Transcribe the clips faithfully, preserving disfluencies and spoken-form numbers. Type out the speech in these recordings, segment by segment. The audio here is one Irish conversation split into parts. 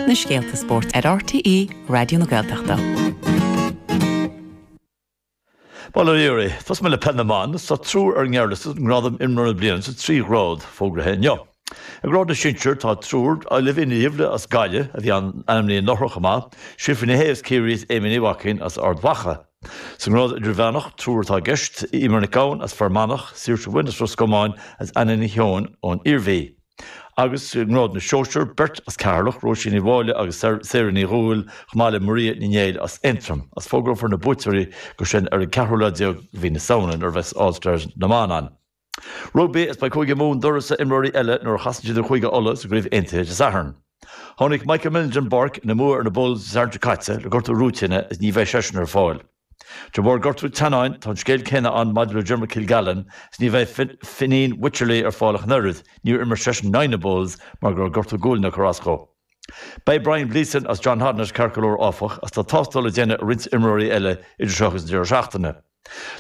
Na scéalta spóirt ar RTÉ Raidió na Gaeltachta. Bail ó Dhia oraibh, Tosóidh mé le peil na mban, tá triúr ar an ngearrliosta don ngradam imreoir na bliana sa trí ghrád fógraithe inniu. I ngrád na sinsear tá triúr Olivia Ní Dhuibhne as Gaillimh a bhí ainmnithe anuraidh chomh maith, Síofra Ní Shé as Ciarraí is Amy Ní Mhaicín as Ard Mhacha. Sa ngrád idirmheánach triúr atá i gceist, Eimear Nic Gabhann as Fear Manach, Saoirse Wynne as Ros Comáin agus Anna Ní Sheoin ón Iarmhí. Agus i ngrád na sóisear, beirt as Ceatharlach, Róisín Ní Mháille agus Sarah Ní Dhúill, chomh maith le Maria Ní Néill as Aontroim. Agus fógrófar na buaiteoirí go sin ar an ceathrú lá déag de mhí na Samhna nuair a bheas All Stars na mban ann. Rugbaí is beidh Cúige Mumhan d'uireasa imreoirí eile nuair a chasann siad ar Chúige Uladh sa gCraobh Aontaithe Dé Sathairn. Tháinig Michael Millon den bpáirc ina mbua ar na Bulls Dé Sathairn seo caite le gortú rúitíne is ní bheidh seisean ar fáil. De bharr gortú teannáin, tá an scéal céanna ann maidir le Dermot Kilgallen is ní bheidh Fineen Wycherley ar fáil ach an oiread, níor imir seisean in aghaidh na Bulls mar go raibh gortú guailne ag cur as dó. Beidh Brian Gleeson as John Hodnett ceart go leor áfach, as tá tástáil le déanamh ar roinnt imreoirí eile idir seo agus an deireadh seachtaine.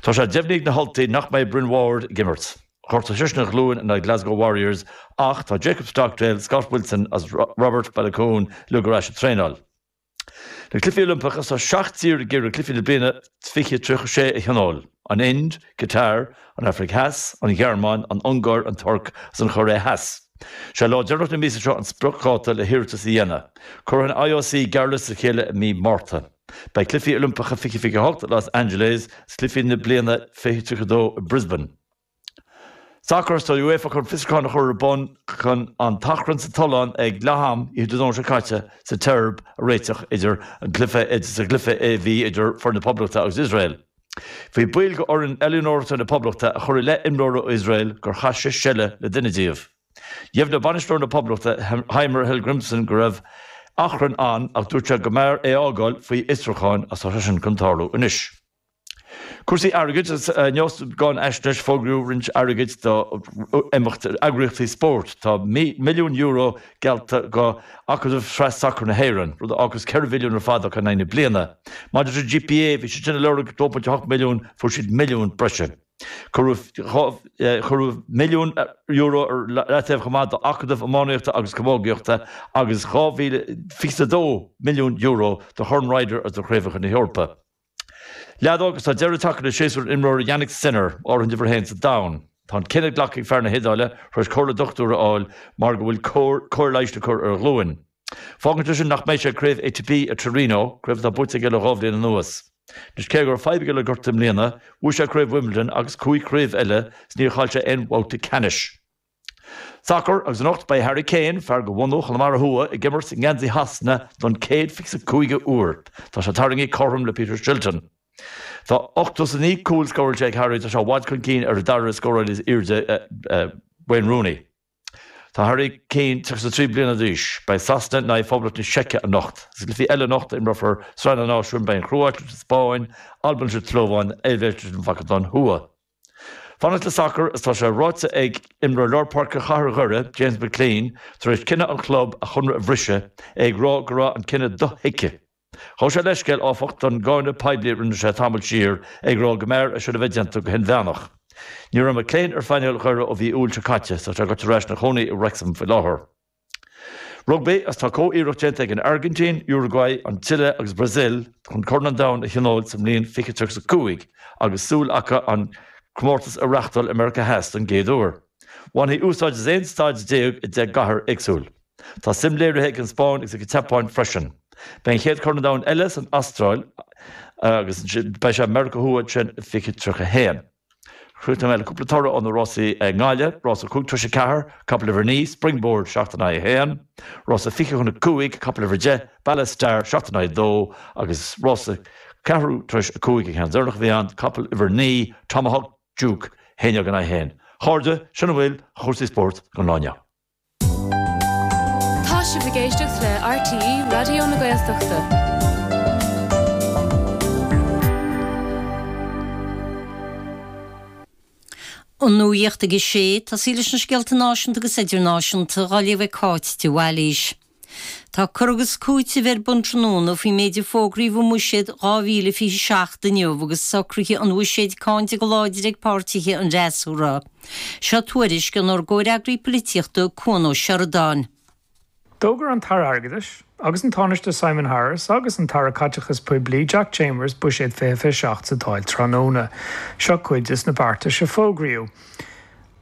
Tá sé deimhnithe ag na hUltaigh nach mbeidh Bryn Ward ag imirt. Ghortaigh seisean a ghlúin in aghaidh Glasgow Warriors ach tá Jacob Stockdale, Scott Wilson as Robert Baloucoune uilig ar ais ag traenáil. Na Cluichí Oilimpeacha, tá seacht dtír ag iarraidh Cluichí na bliana fiche tríocha sé a thionól, an Ind, Qatar, an Afraic Theas, an Ghearmáin, an Ungáir, an Tuirc agus an Chóiré Theas. Sé lá deireanach na míosa seo an spriocdháta le hiarratas a dhéanamh. Cuirfidh an IOC gearrliosta le chéile i mí Márta. Beidh Cluichí Oilimpeacha fiche fiche a hocht i Los Angeles agus Cluichí na bliana fiche tríocha dó i Brisbane. Sacar, Tá UEFA chun fiosrúchán a chur ar bun chun an t-achrann sa tollán ag leath-am oíche Dé Domhnaigh seo caite sa tSeirbia a réiteach idir an cluiche sa gcluiche a bhí idir foireann na Poblachta agus Iosrael. Bhí baill de fhoireann oiliúnóireachta na Poblachta a chuir i leith imreora ó Iosrael gur chaith sé seile le duine díobh. Dheimhnigh bainisteoir na Poblachta Heimir Hallgrímsson go raibh achrann ann ach dúirt sé go mb'fhearr é a fhágáil faoi fhiosrúchán agus tá sé sin chun tarlú anois. Cúrsaí airgid, Inniu sa gcáinfhaisnéis fógraíodh roinnt airgid do imeacht eagraíochtaí spóirt. Tá milliún euro geallta do Acadamh Shraith Sacair na hÉireann, rud a fhágas ceithre mhilliún ar fad acu in aghaidh na bliana. Maidir le GPA, bhí siad sin ag lorg dó ponc ocht milliún, fuair siad milliún breise. Cuireadh milliún euro ar leataobh chomh maith d'Acadamh Iománaíochta agus Camógaíochta agus dhá mhíle fiche a dó milliún euro do Chorn Ryder agus do Chraobhacha na hEorpa. Leadóg, Tá deireadh tagtha le séasúr an imreora Jannik Sinner, áirithint uimhir a haon sa domhan. Tá an cinneadh glactha ag fear na hIodáile tar éis comhairle dochtúra a fháil mar go bhfuil cóir leighis le cur ar a ghlúin. Fágann sé sin nach mbeidh sé ag Craobh ATP i Torino, craobh atá buaite aige le dhá bhliain anuas. Anois cé go raibh fadhb aige le gortú i mbliana, bhuaigh sé Craobh Wimbledon agus cúig chraobh eile is níor chaill sé aon bhabhta ceannais. Sacar, Agus anocht beidh Harry Kane, fear de bhunadh Chonamara Thuaidh, ag imirt i ngeansaí Shasana don céad fiche is cúigiú uair. Tá sé tarraingthe cothrom le Peter Shilton. Tá ochtó is a naoi cúl scóráilte ag Harry, tá sé i bhfad chun cinn ar an dara scórálaí is airde, Wayne Rooney. Tá Harry Kane tríocha is a trí bliana d'aois. Beidh Sasana in aghaidh Phoblacht na Seice anocht. Sa gcluichí eile anocht a imreofar Sraith na Náisiún beidh an Chróit leis an Spáinn, Albain leis an tSlóváin, Eilvéis leis an Mhacadóin Thuaidh. Fanacht le sacar is tá sé ráite ag imreoir lár páirce Chathair Dhoire, James McClean, tar éis cinneadh an chlub a chonradh a bhriseadh, é ag rá go raibh an cinneadh dothuigthe. Ghabh sé leithscéal, áfach, don gcáineadh poiblí a rinne sé tamall siar, ag rá go mb'fhearr é sin a bheith déanta go hinmheánach. Ní raibh McClean ar phainéal Dhoire ó mhí Iúil seo caite, tá sé gaibhte ar ais ina chónaí i Wrexham faoi láthair. Rugbaí, Agus tá comh-iarracht déanta ag an Airgintín, Uruguay, an tSile agus Brasil chun Corn an Domhain a thionól sa mbliain fiche tríocha a cúig agus súil acu an comórtas a reáchtáil i Meiriceá Theas don gcéad uair. Bhainfí úsáid as aon staid déag i deich gcathair éagsúil. Tá suim léirithe ag an Spáinn agus ag an tSeapáin freisin. Beidh an chéad Chorn an Domhain eile san Astráil agus beidh sé i Meiriceá Thuaidh ansin i fiche tríocha a haon. Críochnóidh mé le cúpla toradh ó na rásaí i nGaillimh, Rása cúig tar éis a ceathair, capall uimhir a naoi, Springboard, seacht in aghaidh a haon, Rása fiche chun a cúig, capall uimhir a deich, Ballast Star, seacht in aghaidh a dó agus rása ceathrú tar éis a cúig, an ceann deireanach a bhí ann, capall uimhir a naoi, Tomahawk Duke, haon déag in aghaidh a haon. A chairde, sin a bhfuil de chúrsaí spóirt don lá inniu. Tá sibh ag éisteacht le RTÉ Raidió na Gaeltachta. An nuacht ag a sé, tosaí leis na scéalta náisiúnta agus idirnáisiúnta á léamh ag Cáit de Bhailís. Tá cur agus cúiteamh ar bun tráthnóna faoin méid a fógraíodh i mBuiséad dhá mhíle fiche seacht inniu agus socruithe an bhuiséid cáinte go láidir ag páirtithe an fhreasúra. Seo tuairisc ónár gcomhfhreagraí polaitíochta Cuan Ó Seireadáin. D'fhógair an tAire Airgeadais agus an Tánaiste Simon Harris agus an tAire Caiteachais Poiblí Jack Chambers Buiséad fiche fiche seacht sa Dáil tráthnóna. Seo cuid de na beartais a fógraíodh.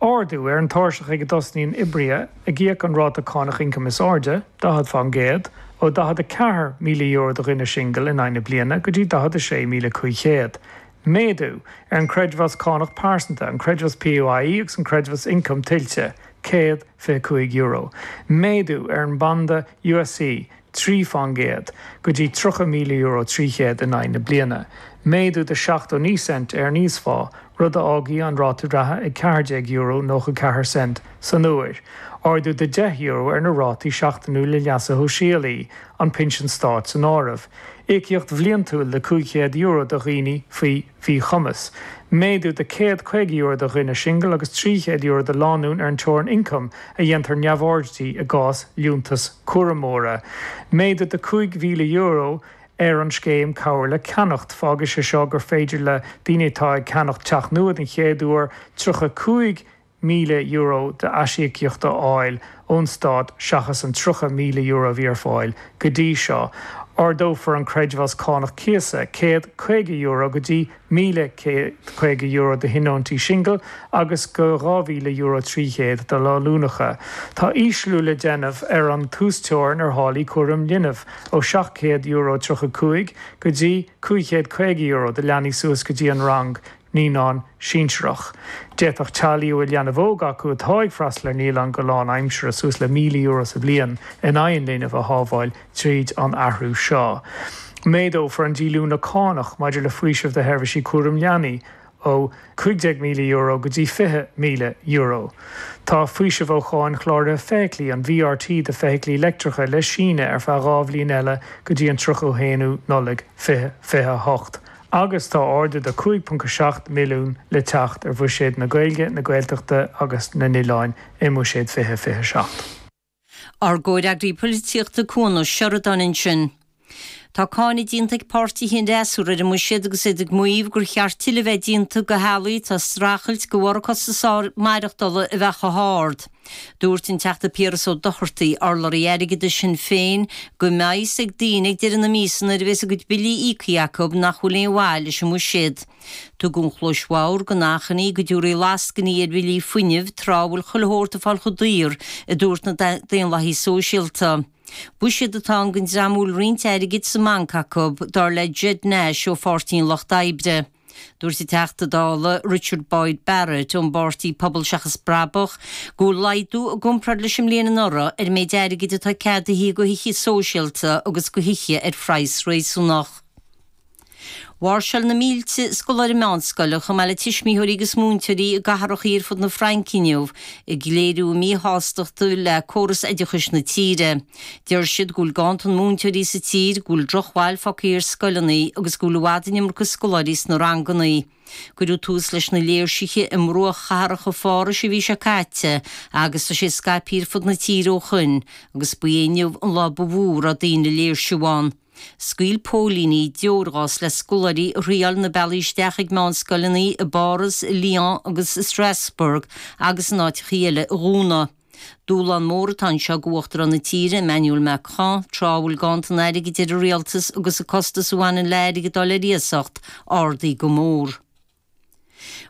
Ardú ar an tairseach ag a dtosnaíonn oibrithe ag íoc an ráta cánach ioncaim is airde, daichead faoin gcéad, ó daichead a ceathair míle euro do dhuine singil in aghaidh na bliana go dtí daichead a sé míle cúig chéad. Méadú ar an gcreidmheas cánach pearsanta, an creidmheas PAYE agus an creidmheas ioncam tuillte, céad fiche cúig euro. Méadú ar an mbanda ÚSC, trí faoin gcéad, go dtí tríocha míle euro trí chéad in aghaidh na bliana. Méadú de seachtó naoi cent ar an íosphá, rud a fhágfaidh an ráta reatha ag ceathair déag euro nócha ceathair cent san uair. Ardú de deich euro ar na rátaí seachtainiúla leasa shóisialaigh, an pinsean stáit san áireamh. Íocaíocht bhliantúil de cúig chéad euro do dhaoine faoi mhíchumas. Méadú de céad caoga euro do dhuine singil agus trí chéad euro do lánúin ar an teorainn ioncaim a dhéantar neamhaird di i gcás liúntas cúramóra. Méadú de cúig mhíle euro ar an scéim Cabhair le Ceannacht. Fágfaidh sé seo gur féidir le daoine atá ag ceannacht teach nua den chéad uair tríocha cúig míle euro d'aisíocaíocht a fháil ón stát seachas an tríocha míle euro a bhí ar fáil go dtí seo. Ardófar an creidmheas cánach cíosa céad caoga euro go dtí míle céad caoga euro do thionóntaí singil agus go dhá mhíle euro trí chéad do lánúineacha. Tá ísliú le déanamh ar an t-uasteorainn ar tháillí cúraim linbh ó seacht gcéad euro tríocha cúig go dtí cúig chéad caoga euro do leanaí suas go dtí an rang naíonán sinsearach. D'fhéadfadh teaghlaigh a bhfuil leanbh óg acu atá ag freastal ar naíolann go lánaimseartha suas le míle euro sa bhliain in aghaidh an linbh a shábháil tríd an athrú seo. Méadófar an díolúine cánach maidir le faoiseamh do sheirbhísí cúraim leanaí ó cúig déag míle euro go dtí fiche míle euro. Tá faoiseamh ó cháin chláraithe feithiclí, an VRT do feithiclí leictreacha le síneadh ar feadh dhá bhliain eile go dtí an tríocha a haon Nollaig fiche fiche a hocht. Agus tá ardú de cúig ponc a seacht milliún le teacht ar bhuiséad na Gaeilge, na Gaeltachta agus na n-oileán i mBuiséad fiche fiche seacht. Ár gcomhfhreagraí polaitíochta Cuan Ó Seireadáin ansin. Tá cáineadh déanta ag páirtithe an fhreasúra ar an mbuiséad agus iad ag maíomh gur cheart tuilleadh a bheith déanta do theaghlaigh atá ag streachailt de bharr costas maireachtála a bheith chomh hard. Dúirt an Teachta Piaras Ó Dochartaigh, urlabhraí airgeadais Shinn Féin, go mbeidh a fhios ag daoine ag deireadh na míosa nuair a bheas a gcuid billí íoctha acu nach bhfuil aon mhaith leis an mbuiséad. Tugadh an chluais bhodhar don achainí go dtabharfaí lascainí ar bhillí fuinnimh tráth a bhfuil chuile shórt ag fáil chomh daor, a dúirt na Daonlathaithe Sóisialta. Buiséad atá ann don dream a bhfuil roinnt airgid sa mbanc acu, dar le Ged Nash ó Pháirtí an Lucht Oibre. Dúirt an Teachta Dála Richard Boyd Barrett ón bpáirtí Pobal Seachas Brabach go bhfuil laghdú i gcomparáid leis an mbliain anuraidh ar an méid airgid atá ceadaithe do thithe sóisialta agus do thithe ar phraghas réasúnach. Mháirseáil na mílte scoláire meánscoile, chomh maith le tuismitheoirí agus múinteoirí i gcathracha ar fud na Fraince inniu, ag léiriú a míshástachta le córas oideachais na tíre. Deir siad go bhfuil ganntan múinteoirí sa tír, go bhfuil drochbhail fágtha ar scoileanna agus go bhfuil i bhfad an iomarca scoláirí sna ranganna. Cuireadh tús leis na léirsithe i mbruachchathracha Phárais an mhí seo caite agus tá sé scaipthe ar fud na tíre ó shoin agus ba é inniu an lá ba mhó a raibh daoine ag léirsiú ann. Scaoil póilíní deorghás le scoláirí a thriáil na bealaí isteach ag meánscoileanna i bPáras, i Lyon agus i Strasbourg agus in áiteacha eile a dhúnadh. Dúshlán mór atá anseo do Uachtarán na tíre, Emmanuel Macron, tráth a bhfuil ganntan airgid ar an rialtas agus an costas a bhaineann le airgead a fháil ar iasacht ardaithe go mór.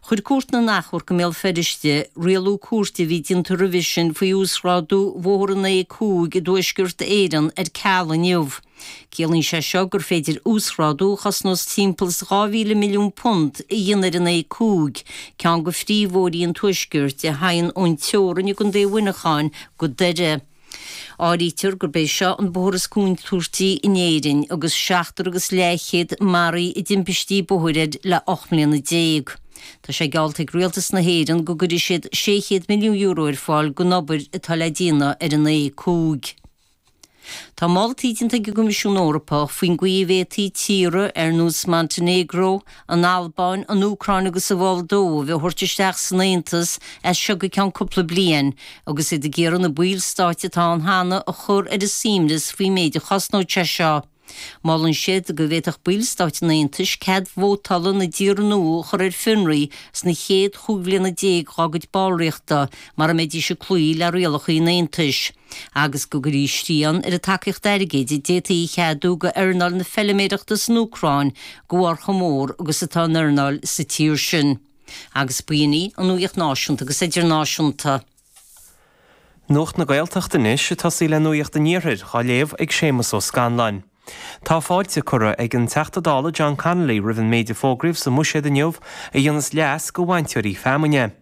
Chuir Cúirt na nAchomharc i mBéal Feirste rialú cúirte a bhí déanta roimhe sin faoi uasghrádú Bhóthar an A cúig i dTuaisceart Éireann ar ceal inniu. Ciallaíonn sé seo gur féidir uasghrádú a chosnós timpeall is dhá mhíle milliún punt a dhéanamh ar an A cúig, ceann de phríomhbhóithrí an Tuaiscirt a théann ón teorainn i gContae Mhuineacháin go Doire. Áirítear gurb é seo an bóthar is contúirtí in Éirinn agus seachtar agus leathchéad maraithe i dtimpistí bóthair air le ocht mbliana déag. Tá sé geallta ag Rialtas na hÉireann go gcuirfidh siad sé chéad milliún euro ar fáil don obair atá le déanamh ar an A cúig. Tá moltaí déanta ag an gCoimisiún Eorpach faoin gcaoi a bhféadfaí tíortha ar nós Montenegro, an Albáin, an Úcráin agus an Mholdóiv a thabhairt isteach san Aontas as seo go ceann cúpla bliain agus iad ag iarraidh na baill stáit atá ann cheana a chur ar a suaimhneas faoin méid a chosnódh sé seo. Molann siad go bhféadfadh ballstáit an Aontais cead vótála na dtíortha nua a chur ar fionraí sna chéad chúig bhliana déag dá gcuid ballraíochta mura mbeidís ag cloí le rialacha an Aontais, agus go gcuirfí srian ar an tacaíocht airgid a d'fhéadfaí a cheadú go earnáil na feiliméireachta san Úcráin de bharr chomh mór agus atá an earnáil sa tír sin. Agus b'in í an nuacht náisiúnta agus idirnáisiúnta. Nuacht na Gaeltachta anois ag tosaí le Nuacht an Iarthair, á léamh ag Séamus Ó Scanláin. Tá fáilte curtha ag an Teachta Dála John Connolly roimh an méid a fógraíodh sa mBuiséad inniu a dhéanas leas go bhainteoirí feamainne.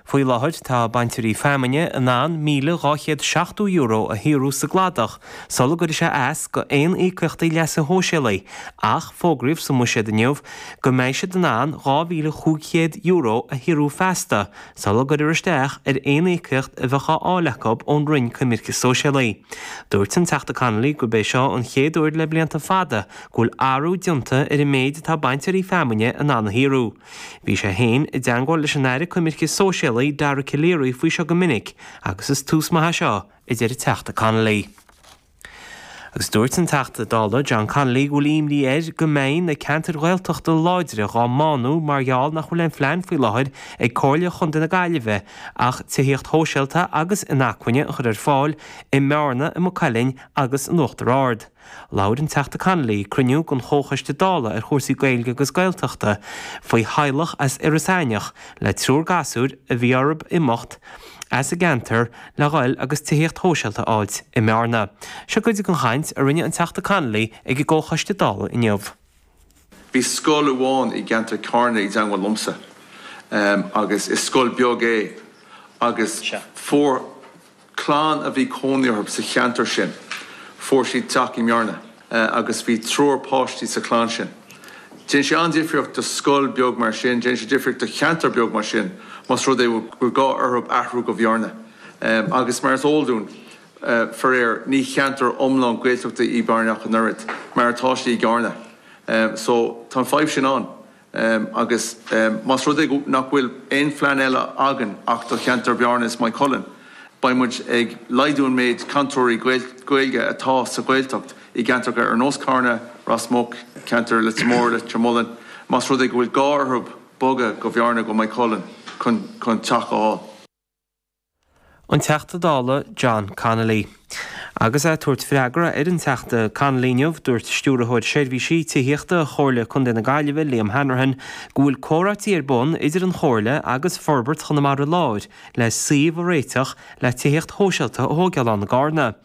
Faoi láthair tá bainteoirí feamainne in ann míle dhá chéad seachtó euro a shaothrú sa gcladach sula gcuirfidh sé as go aon íocaíochtaí leasa shóisialaigh ach fógraíodh sa mBuiséad inniu go mbeidh siad in ann dhá mhíle chúig chéad euro a shaothrú feasta sula gcuirfear isteach ar aon íocaíocht a bheadh á fháil acu ón Roinn Coimirce Sóisialaí. Dúirt an Teachta Connolly gurb é seo an chéad uair le blianta fada go bhfuil athrú déanta ar an méid atá bainteoirí feamainne in ann a shaothrú. Bhí sé féin i dteangmháil leis an Aire Coimirce Sóisialaí Dara Calleary faoi seo go minic agus is tús maith é seo, a deir an Teachta Connolly. Agus dúirt an Teachta Dála John Connolly go bhfuil imní air go mbeidh na ceantair Ghaeltachta láidre dhá mbánú mar gheall nach bhfuil aon phlean faoi láthair ag Comhairle Chontae na Gaillimhe ach tithíocht shóisialta agus inacmhainne a chur ar fáil i mBearna, i Maigh Cuilinn agus in Uachtar Ard. Labhair an Teachta Connolly ag cruinniú den Chomhchoiste Dála ar chúrsaí Gaeilge agus Gaeltachta faoi theaghlach as Iorras Aithneach le triúr gasúr a bhí orthu imeacht as a gceantar le dhul agus tithíocht shóisialta a fháilt i mBearna. Seo cuid den chaint a rinne an Teachta Connolly ag an gComhchoiste Dála inniu. Bhí scoil amháin i gceantar Carna i dteangmháil liomsa agus is scoil beag é agus fuair clann a bhí cónaí orthu sa cheantar sin, fuair siad teach i mBearna agus bhí triúr páistí sa chlann sin. Déanann sé an-difríocht do scoil beag mar sin, déanann sé difríocht do cheantar beag mar sin más rud é gur gá orthu athrú go Bearna. Agus mar is eol dúinn, faraor, ní cheantar iomlán Gaeltachta í Bearna ach an oiread, mar atá sí i gCarna. So, tá an fadhb sin ann. Agus más rud é nach bhfuil aon phlean eile againn ach do cheantar Bhearna is Maigh Cuilinn, beidh muid ag laghdú an méid cainteoirí Gaeilge atá sa Ghaeltacht i gceantracha ar nós Carna, Ros Muc, ceantar Leitir Móir, Leitir Mealláin, más rud é go bhfuil gá orthu bogadh go Bhearna, go Maigh Cuilinn chun teach a fháil. An Teachta Dála John Connolly. Agus é ag tabhairt freagra ar an Teachta Connolly inniu, dúirt Stiúrthóir Seirbhísí Tithíochta Chomhairle Contae na Gaillimhe, Liam Hanrahan, go bhfuil comhráití ar bun idir an Chomhairle agus Forbairt Chonamara Láir le suíomh a réiteach le tithíocht shóisialta a thógáil ann i gCarna.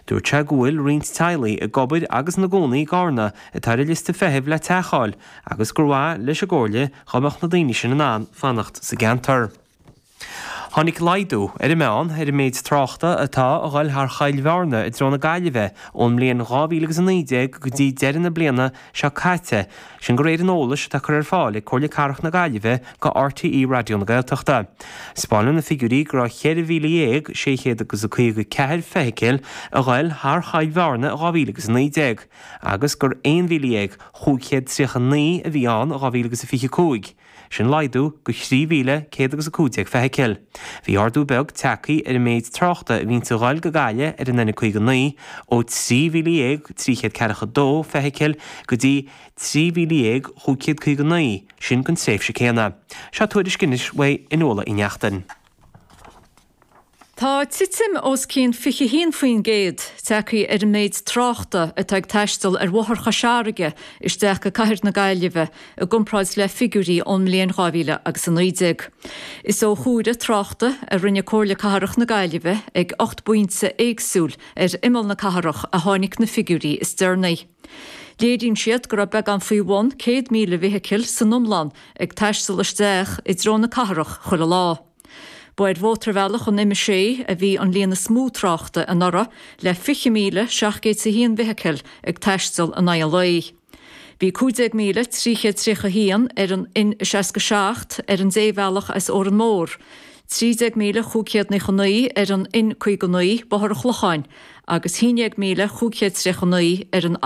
Dúirt sé go bhfuil roinnt teaghlaigh ag obair agus ina gcónaí i gCarna atá ar an liosta feithimh le teach a fháil agus gur mhaith leis an gComhairle dhá mbeadh na daoine sin in ann fanacht sa gceantar. Tháinig laghdú ar an meán ar an méid tráchta atá a dhul thar Choill Bhearna i dtreo na Gaillimhe ón mbliain dhá mhíle agus a naoi déag go dtí deireadh na bliana seo caite, sin de réir an eolais atá curtha ar fáil ag Comhairle Cathrach na Gaillimhe go RTÉ Raidió na Gaeltachta. 'Spáineann na figiúirí go raibh ceithre mhíle dhéag sé chéad agus a caoga ceathair feithicil a ghoil thar Choill Bhearna i dhá mhíle agus a naoi déag agus gur aon mhíle dhéag chúig chéad tríocha naoi a bhí ann i dhá mhíle agus a fiche cúig. Sin laghdú go thrí mhíle céad agus a cúig déag feithicil. Bhí ardú beag tagtha ar an méid tráchta a bhíonns a ghoil go Gaillimh ar an N caoga naoi ó trí mhíle dhéag trí chéad ceathracha dó feithicil go dtí trí mhíle dhéag chúig chéad caoga naoi, sin don tréimhse céanna. Seo tuairisc anois uaidh Fhionnuala Uí Neachtain. Tá titim os cionn fiche haon faoin gcéad tagtha ar an méid tráchta atá ag taisteal ar Bhóthar Chois Fharraige isteach go cathair na Gaillimhe i gcomparáid le figiúirí ón mbliain dhá mhíle agus a naoi déag. Is ó chuaire tráchta a rinne Comhairle Cathrach na Gaillimhe ag ocht bpointe éagsúil ar imeall na cathrach a tháinig na figiúirí is deireanaí. Léiríonn siad go raibh beagán faoi bhun céad míle feithicil san iomlán ag taisteal isteach i dtreo na cathrach chuile lá. Ba ar Mhótarbhealach an M a sé a bhí an líon is mó tráchta anuraidh, le fiche míle seacht gcéad is a haon feithicil ag taisteal in aghaidh an lae. Bhí cúig déag míle trí chéad tríocha a haon ar an N seasca seacht ar an débhealach as Órán Mór, trí déag míle chúig chéad naocha naoi ar an N caoga naoi, Bóthar an Chlocháin, agus haon déag míle chúig chéad tríocha naoi ar an